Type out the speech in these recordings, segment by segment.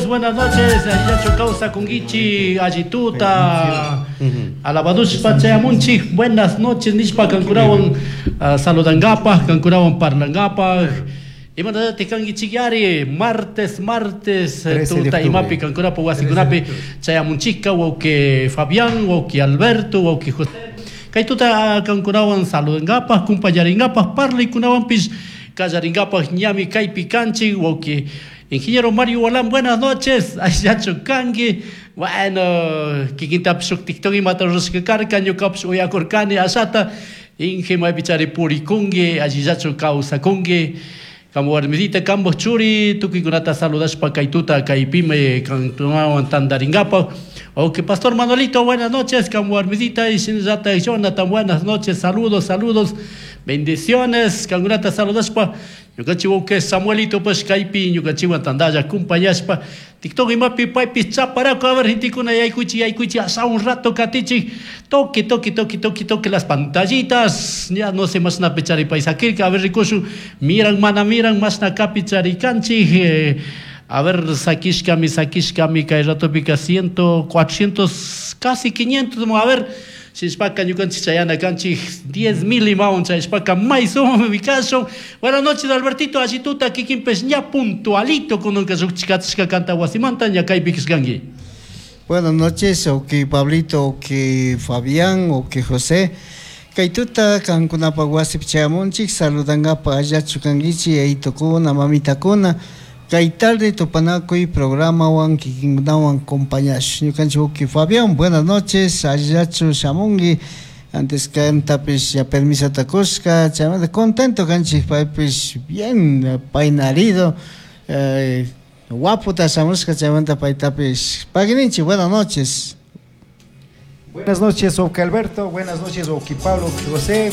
Buenas noches, Yacho kawsakunkichik, allituta, alabadushpa chayamunchik, buenas noches, nishpa kankunawan saludangapaj, kankunawan parlangapaj. Imanatatik kankichikyari, martes, martes, 13 de tuta octubre. imapi kankunapa wasikunapi chayamunchikka, wawqi Fabián, wawqi Alberto, wawqi José. Kay tuta kankunawan saludangapaj, kumpañaringapaj, parlaykunawanpish kallaringapaj ñami kaypi kanchik, wawqi Ingeniero Mario Walán, buenas noches. Ashachu kanki. Bueno, kikintapish shuk TikTok imata rurashka karka, ñukapish uyakurkani ashata. Inge maypichari purikunki, allillachu kawsakunki. Kamu warmisita, kampak churi, tukuykunata saludashpa kay tuta kaypimi kankunawan tantaringapaj. Ok, Pastor Manuelito, buenas noches, kamu warmisita y shinallata Jonathan, buenas noches, saludos, saludos, bendiciones, kankunata saludashpa. Ñukanchik wawqi Samuelito pues kaypi ñukanchikwan tantalla acompañashpa TikTok imapi paypis chaparaku, a ver, gentekuna yaykuchik, yaykuchik, hasta un rato katichik, toque, toque, toque, toque, toque las pantallitas, ya no sé mashnapi chari pay sakirka, a ver rikushun, miran mana miran mashna kapi charikanchik, a ver, sakishkami, sakishkami, kay ratopika ciento, 400, casi 500, a ver, shishpaka ñukanchik chayana kanchik 10.000 imawan chayashpaka may sumami kashun. Buenas noches, Albertito, allituta kikinpish ña puntualito kunanka llukchikachishka kanta wasimanta ña kaypi kashkanki. Buenas noches, ok Pablito, ok Fabián, ok José. Kay tuta kankunapa wasipi chayamunchik, saludangapa allachu kankichik, yayitukuna, mamitakuna. Kay tarde tupanakuy programawan kikinkunawan compañash. Ñukanchik wawqi Fabián, buenas noches, allachu shamunki. Antes kantapish ya permisota kushka, chaymanta contento kanchik, paypish bien peinarido, guaputa shamushka, chaymanta paytapish paguininchik, buenas noches. Buenas noches, wawqi Alberto, buenas noches, wawqi Pablo, wawqi José.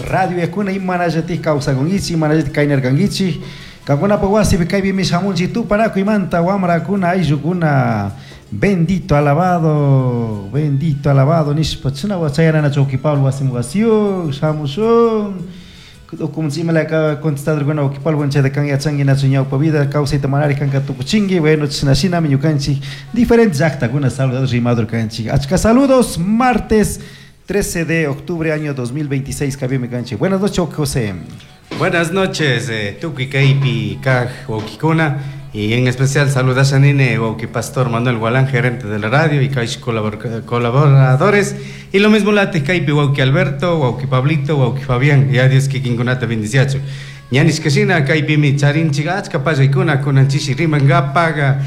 Radio Yakuna imanallatik kawsakunkichik, imanallatik kaynarkankichik. Kankunapa wasipi kaypimi shamunchik tupanakuymanta wamrakuna, ayllukuna, bendito alabado, bendito alabado nishpa china chayananachu wawqi Pablo wasiman wasiyuk shamushun. Ukumunchik imalaya contestadorkuna wawqi Pablo chayta kan yachanki nachu ñawpa vida kawsayta manari kanka tukuchinki. Bueno, china shinami ñukanchik diferentes llaqtakuna saludador rimador kanchik. Achka saludos, martes 13 de octubre año 2026 kaypimi kanchik. Buenas noches, wawqi José. Buenas noches, tukuy kaypi kaj wawqikuna, y en especial saludashanine wawqi Pastor Manuel Gualán, gerente de la radio, y kaysh colaboradores, y lo mismo late kaypi wawqi Alberto, wawqi Pablito, wawqi Fabián, y adiós kikinkunata bendiciachu. Ñanishkashina kaypimi charinchik achka pallaykuna kunanchishi rimangapaga,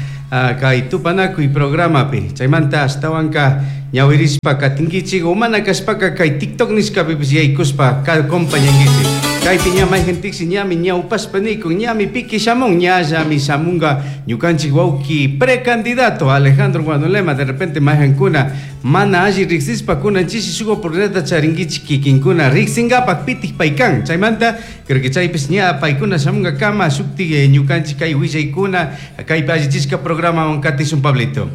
kay tupanakuy programapi. Chaymanta ashtawanka ñawirishpa katinkichik, o mana kashpaka kay TikTok nishkapipish yaykushpa acompañankichik. Kaypi ña mayqintiksi ñami ñawpashpa nikun, ñami piki shamun, ñallami shamunga ñukanchik wawqi precandidato Alejandro Guanolema. De repente mayqankuna mana alli riqsishpa kunanchishi shuk oportunidadta charinkichik kikinkuna riqsingapak pitik paykan. Chaymanta creo que chaypis ña paykuna shamunga kama shuktik ñukanchik kay willaykuna kaypi allichishka programawan katishun, Pablito.